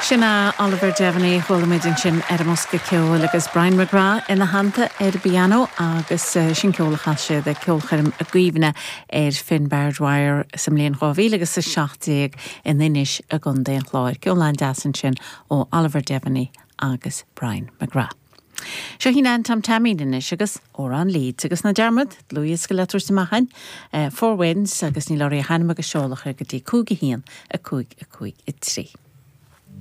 Sin é Oliver Devaney, chuala muid ansin ar an mbosca ceoil agus Brian McGrath ina theannta ar an bpianó agus sin ceol a chas siad ag ceolchoirm i gcuimhne ar Finbarr Dwyer sa mbliain 2000 agus 17 in Inis i gContae an Chláir. Ceol an-deas ansin ó Oliver Devaney agus Brian McGrath. Seo í Nan Tom Taimín anois agus Amhrán Leeds agus ná dearmad, dlúthdhiosca le tabhairt amach againn, Four Winds agus níl oraibh ach ainm agus seoladh a chur go dtí 5 1 5 5 3.